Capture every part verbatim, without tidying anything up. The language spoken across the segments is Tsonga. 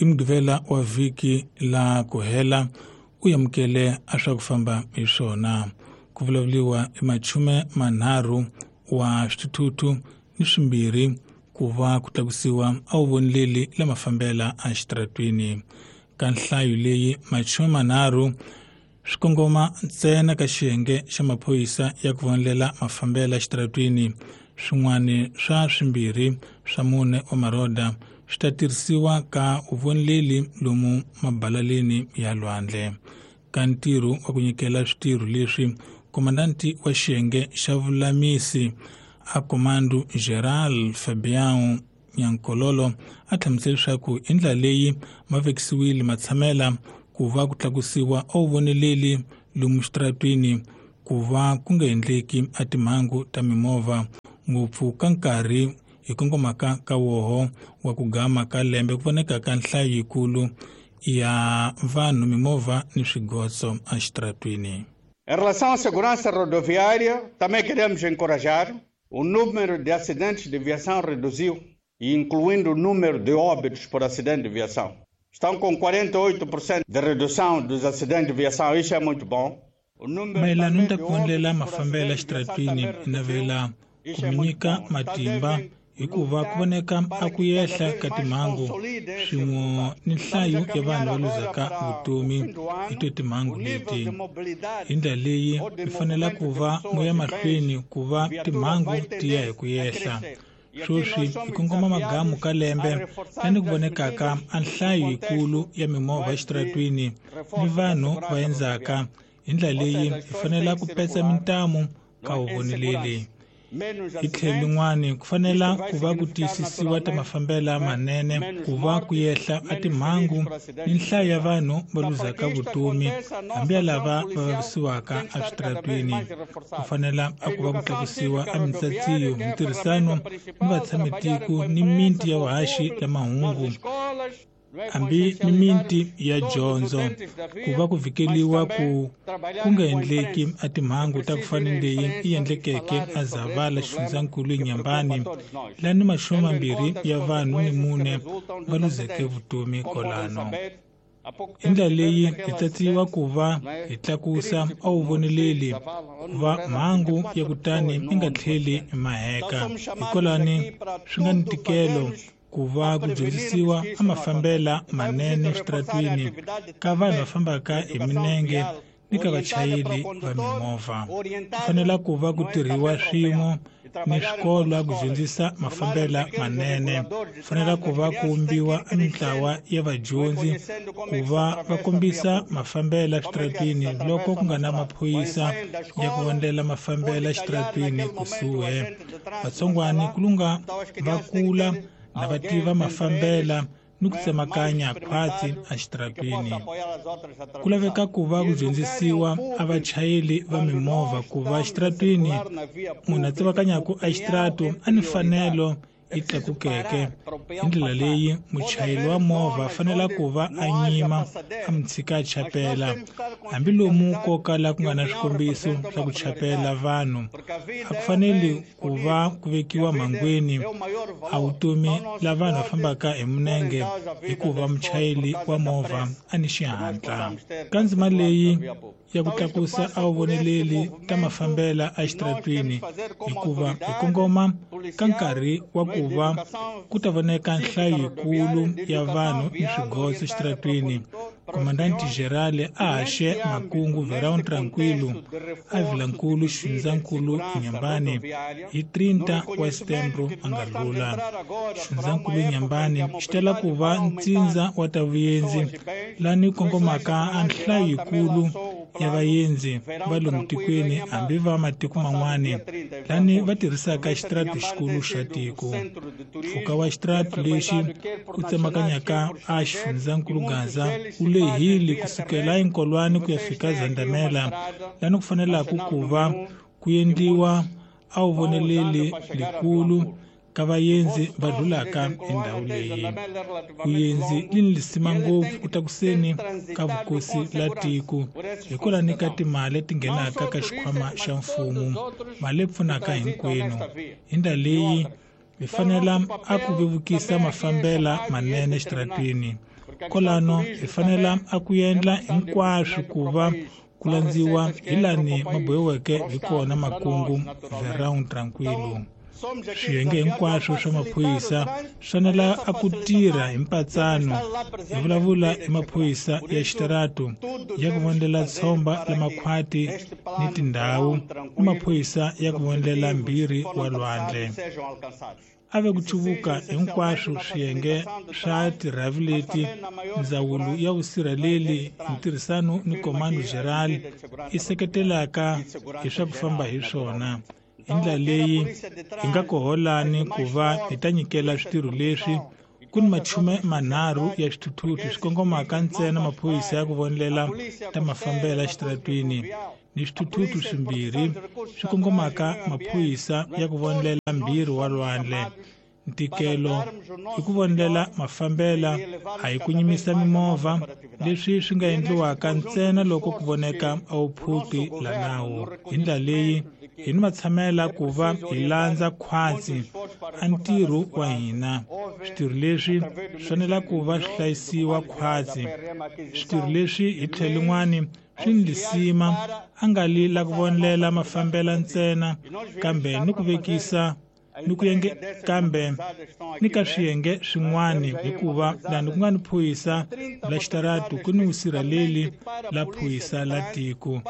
I Mugqivela wa vhiki la ku hela u amukele a swa ku famba hi swona. Ku vulavuriwa i machume manharhu wa swithuthuthu ni swimbirhi ku va ku tlakusiwa a wu voneleli la mafambela exitaratweni. Ka nhlayo leyi machume manharhu swi kongoma ntsena ka xiyenge xa maphorisa ya ku vonelela mafambela exitaratweni. Swin'wana swa swimbirhi swa mune wa maroda swi ta tirhisiwa ka vuvoneleli lomu mabalaleni ya lwandle. Ka ntirho wa ku nyikela switirho leswi, komandanti wa xiyenge xa vulamisi a Comando Geral Fabião Nyankololo a hlamusela leswaku hi ndlela leyi ma vekisiwile matshamela ku va ku tlakusiwa a vuvoneleli lomu xitaratwini ku va ku nga endleki a timhangu ta mimovha ngopfu ka nkarhi hi kongomaka ka woho wa ku gama ka lembe ku voneka ka nhlayo yikulu ya vanhu mimovha ni swigotso exitaratwini. Em relação à segurança rodoviária, também queremos encorajar. O número de acidentes de viação reduziu, incluindo o número de óbitos por acidente de viação. Estão com quarenta e oito por cento de redução dos acidentes de viação, isso é muito bom. Mayelana ni ta ku vonela mafambelo exitaratwini navela ku mi nyika matimba hikuva ku voneka a ku yehla ka timhangu swin'we ni nhlayo ya vanhu va luzaka vutomi hi to timhangu leti. Hi ndlela leyi mi fanela ku va mo ya mahlweni ku va timhangu ti ya hi ku yehla. Sweswi hi kongoma magamu ka lembe lani ku vonekaka a nhlayo yikulu ya mimovha exitaratwini ni vanhu va endzaka. Hi ndlela leyi hi fanela ku petsa mintamu ka vuvoneleli. Hi tlhelo lin'wani ku fanela ku va ku tiyisisiwa ta mafambelo manene ku va ku yehla a timhangu ni nhlayo ya vanhu va luzaka vutomi hambi ya lava va vavisiwaka eswitaratweni. Ku fanela a ku va ku tlakusiwa a mintsatsiyo, mintirhisano ni vatshamitiko ni miti ya vuhaxi la mahungu hambi ni miti ya dyondzo ku va ku vhikeliwa ku ku nga endleki a timhangu ta ku fana ni leyi yi endlekeke a Zavala xifundzankulu eNyambani lani machume mambirhi ya vanhu ni mune va luzeke vutomi kolano. Hi ndlela leyi hi tsatsiwa ku va hi tlakusa a wu voneleli ku va mhangu ya kutani yi nga tlheli maheka. Hikwalani swi nga ni ntikelo ku va ku dyondzisiwa a mafambela manene exitaratwini ka vanhu va fambaka hi minenge ni ka vachayeri va mimovha. Ku fanela ku va ku tirhiwa swin'we ni swikolo ku dyondzisa mafambela manene. Ku fanela ku va ku vumbiwa a mintlawa ya vadyondzi ku va va kombisa mafambela exitaratwini loko ku nga na maphorisa ya ku vonela mafambela exitaratwini kusuhi. Vatsongwani ku lunga va kula na va tiva mafambela ni ku tsemakanya khwatsi exitaratwini. Ku laveka ku va ku dyondzisiwa a vachayeri va mimovha ku va exitaratwini munhu a tsemakanyaka exitarato a ni fanelo yi tlakukeke. Hi ndlela leyi muchayeri wa movha a fanela ku va a nyima a mi tshika a chapela hambi lomu ko kala ku nga na swikombiso swa ku chapela vanhu. A ku faneli ku va ku vekiwa mhangwini a vutomi la vanhu va fambaka hi minenge hikuva muchayeri wa movha a ni xihatla. Ka ndzima leyi ya ku tlakusa a wu voneleli ta mafambela exitaratwini hikuva hi kongoma ka nkarhi wa ku va ku ta voneka nhlayo yikulu ya vanhu ni swigotso exitaratwini. Komandanti Gerale a haxe makungu Verão Tranquilo a Vilankulu xifundzankulu Inhambane hi trinta wa Setembro a nga lula. Xifundzankulu Inhambane xi tala ku va ntsindza wa ta vuyenzi lani kongomaka a nhlayo yikulu ya vaendzi va lomu tikweni hambi va matiko man'wani lani va tirhisaka xitarati xikulu xa tiko. Mpfhuka wa xitarati lexi ku tsemakanyaka a xifundzankulu Gaza wu lehile kusukela eNkolwane ku ya fika Zandamela lani ku fanelaka ku va ku endliwa a wu voneleli likulu ka vaendzi va dlulaka endhawu leyi. Vuendzi li ni lisima ngopfu ku tlakuseni ka vukosi la tiko hikwalani ka timali leti nghenaka ka xikhwama xa mfumo, mali leyi pfunaka hinkwenu. Hi ndlela leyi hi fanela a ku vevukisa mafambela manene exitaratwini. Kolano hi fanela a ku endla hinkwaswo ku va ku landziwa hi lani ma bohiweke hi kona makungu Verão Tranquilo. Swiyenge hinkwaswo swa maphorisa swi fanela a ku tirha hi mpatsano. Hi vulavula hi maphorisa ya xitaratu ya ku vonela tshomba la makhwati ni tindhawu ni maphorisa ya ku vonela mbirhi wa lwandle. A ve ku cuvuka hinkwaswo swiyenge swa tirhavi leti ndzawulo ya vusirheleli hi ntirhisano ni Comando Geral i seketelaka hi swa ku famba hi swona. Hi ndlela leyi hi nga koholani ku va hi ta nyikela switirho leswi ku ni machume manharhu ya swithuthuthu swi kongomaka ntsena maphorisa ya ku vonela ta mafambela exitaratwini ni swithuthuthu swimbirhi swi kongomaka maphorisa ya ku vonela mbirhi wa lwandle. Ntikelo i ku vonela mafambela a hi ku nyimisa mimovha, leswi swi nga endliwaka ntsena loko ku voneka a wu phuti la nawu. Hi ndlela leyi hi ni matshamela ku va hi landza khwatsi a ntirho wa hina. Switirho leswi swi fanela ku va swi hlayisiwa khwatsi. Switirho leswi hi tlhelo lin'wani swi ni lisima a nga li la ku vonela mafambela ntsena kambe ni ku vekisa ni ku yenge kambe ni ka swiyenge swin'wani, hikuva lani ku nga ni phorisa la xitaratu ku ni vusirheleli la phorisa la tiko.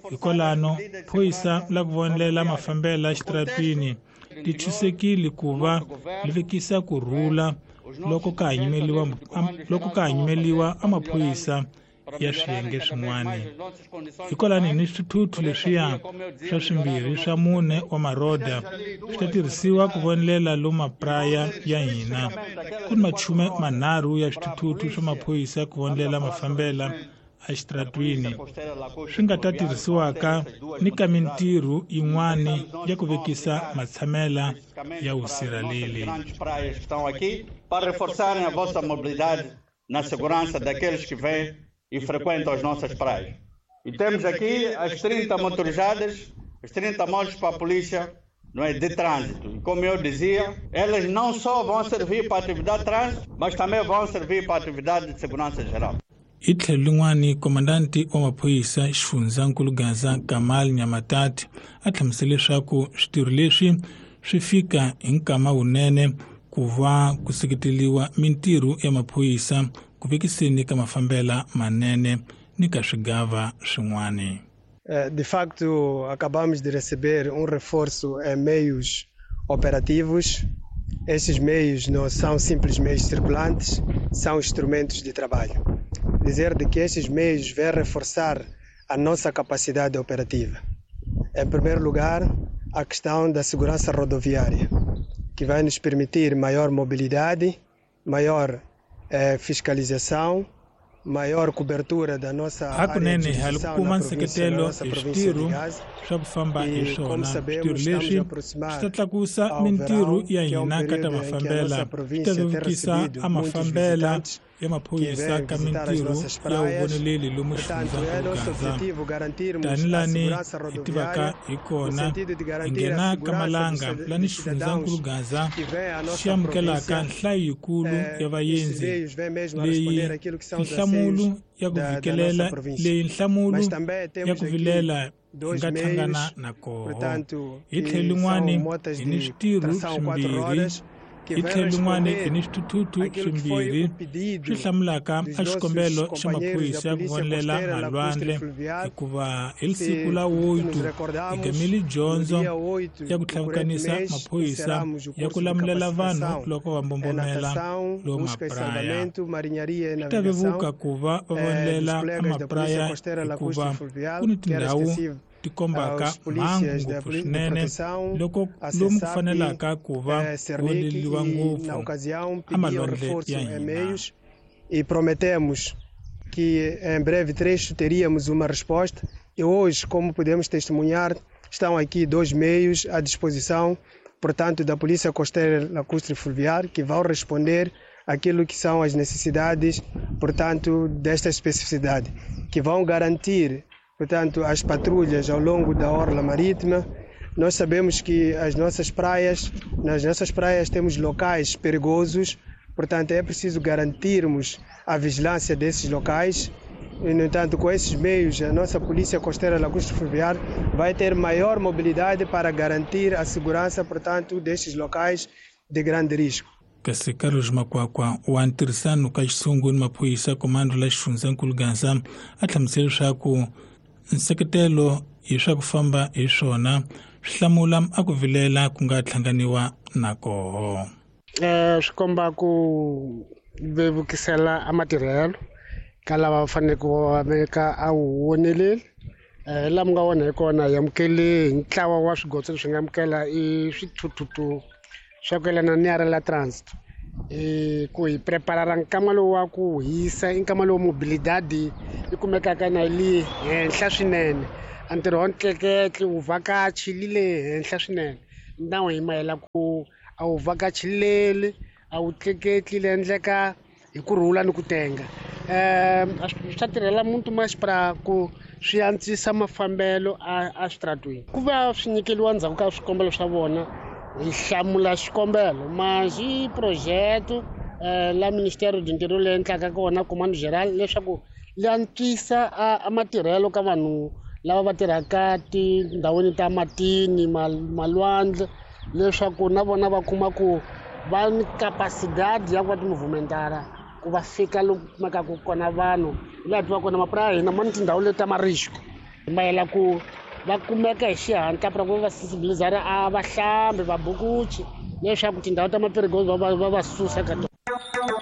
Hikwalano phorisa la ku vonela mafambela xitaratwini ti chusekile ku va li vekisa ku rhula loko ka ha nyimeliwa loko ka ha nyimeliwa a maphorisa ya swiyenge swin'wana. Hikwalani ni swithuthuthu leswiya swa swimbirhi swa mune wa maroda swi ta tirhisiwa ku vonelela lomu mapraya ya hina. Ku ni machume manharhu ya swithuthuthu swa maphorisa ku vonelela mafambela exitaratwini swi nga ta tirhisiwaka ni ka mintirho yin'wana ya ku vekisa matshamela ya vusirheleli. Para reforçarem a vossa mobilidade na segurança daqueles que vêm e frequentam as nossas praias. E temos aqui as trinta motorizadas, as trinta motos para a polícia, não é, de trânsito. E como eu dizia, elas não só vão servir para a atividade de trânsito, mas também vão servir para a atividade de segurança geral. Hi tlhelo lin'wani, komandanti wa maphorisa xifundzankulu Gaza Kamal Nyamatati a hlamusele leswaku switirho leswi swi fika hi nkama wunene ku va ku seketeliwa mintirho ya maphorisa ku vekiseni ka mafambela manene ni ka swigava swin'wana. De facto, acabamos de receber um reforço em meios operativos. Esses meios não são simples meios circulantes, são instrumentos de trabalho. Dizer de que esses meios vêm reforçar a nossa capacidade operativa. Em primeiro lugar, a questão da segurança rodoviária, que vai nos permitir maior mobilidade, maior eh, fiscalização, maior cobertura da nossa área de Hakunene hi jurisdição kuma na província, na nseketelo nossa hi província de switirho Gaza. swa ku famba hi E, como swona. Switirho sabemos, estamos a leswi swi aproximar ta tlakusa ao mintirho verão, ya que é um hina ka ta período em que a mafambela, nossa swi ta província tem vevukisa recebido a muitos mafambela visitantes ya que maphorisa vêm ka visitar as mintirho nossas ya praias. vuvoneleli lomu Portanto, é xifundzankulu nosso Gaza. objetivo garantirmos a Tanilani segurança hi tivaka rodoviária, hi no kona sentido de hi garantir a nghena ka segurança dos malanga cida- lani dos cidadãos xifundzankulu Gaza que vêm à xi nossa amukelaka província. nhlayo yikulu ya Eh, estes vaendzi meios vêm mesmo a leyi responder àquilo que são os nhlamulo anseios ya ku da, da nossa vikelela província. leyi nhlamulo Mas também ya temos ku aqui vilela hi dois nga hlangana meios, na koho. portanto, Hi tlhelo que são lin'wani motas hi ni de switirho tração quatro swimbirhi rodas, que hi vêm tlhelo lin'wani hi responder ni swithuthuthu aquilo que foi swimbirhi o swi pedido hlamulaka dos a nossos xikombelo xa companheiros da maphorisa ya ku Polícia vonelela Costeira Lacustre malwandle Fluvial. hikuva hi siku Se la nos oito hi recordamos, gamile no dyondzo dia oito ya ku do corrente tlhavukanisa mês, maphorisa encerramos o ya ku curso de lamulela vanhu capacitação loko va em mbombomela natação, lomu busca e mapraya. salvamento, marinharia e Swi ta navegação vevuka ku va va eh, dos vonelela colegas da Polícia amapraya Costeira hikuva Lacustre Fluvial, ku ni que era tindhawu extensivo ti kombaka aos mhangu polícias da ngopfu Poli- de swinene Proteção, loko a lomu ku CESAP, fanelaka ku va eh, Cernic, voneliwa e na ngopfu ocasião a pediam malwandle reforço ya em hina. meios e prometemos que em breve trecho teríamos uma resposta. E hoje, como podemos testemunhar, estão aqui dois meios à disposição, portanto, da Polícia Costeira Lacustre Fluvial, que vão responder aquilo que são as necessidades, portanto, desta especificidade, que vão garantir, portanto, as patrulhas ao longo da orla marítima. Nós sabemos que as nossas praias, nas nossas praias temos locais perigosos, Portanto, é preciso garantirmos a vigilância desses locais. E, no entanto, com esses meios, a nossa Polícia Costeira Lacustre Fluvial vai ter maior mobilidade para garantir a segurança, portanto, destes locais de grande risco. Kasi Carlos Makwakwa wa ntirhisano ka xisungu ni maphorisa komando la xifundzankulu Gaza a hlamusela leswaku nseketelo hi swa ku famba hi swona swi hlamula a ku vilela ku nga hlanganiwa na koho. Eh swi komba ku vevukisela a matirhelo ka lava va faneleke ku va veka a wu voneleli. Eh laha mi nga vona hi kona hi amukele hi ntlawa wa swigotso leswi nga amukela i swithuthuthu swa ku yelana ni ya la transit e ku hi preparara nkama lowu wa ku hisa i nkama lowu mobilidade yi kumekaka na yi henhla swinene. A ntirho wa ntleketli wu vhakachi li le henhla swinene nawu hi mayela ku a wu vhakachileli a wu tleketli le endleka hi ku rhula ni ku tenga. Um swa tirhela muntu masipala ku swi antswisa mafambelo a a switaratweni ku va swi nyikeliwa ndzhaku ka swikombelo swa vona hi hlamula xikombelo mas i projeto eh, la Ministério do Interior leyi endlaka kona Comando Geral leswaku li antswisa a matirhelo ka vanhu lava va tirhaka tindhawini ta matini malwandle leswaku na vona va kuma ku va ni capacidade ya ku va timovumentara ku va fika loku kumekaka kona vanhu laha tiva kona mapurasi ya hina ma ni tindhawu leti ta marisco mayela ku va kumeka hi xihatla pra ku va sensibilizara a vahlambi vabukuchi leswaku tindhawu ta mapirigozi va va va susa ka tona.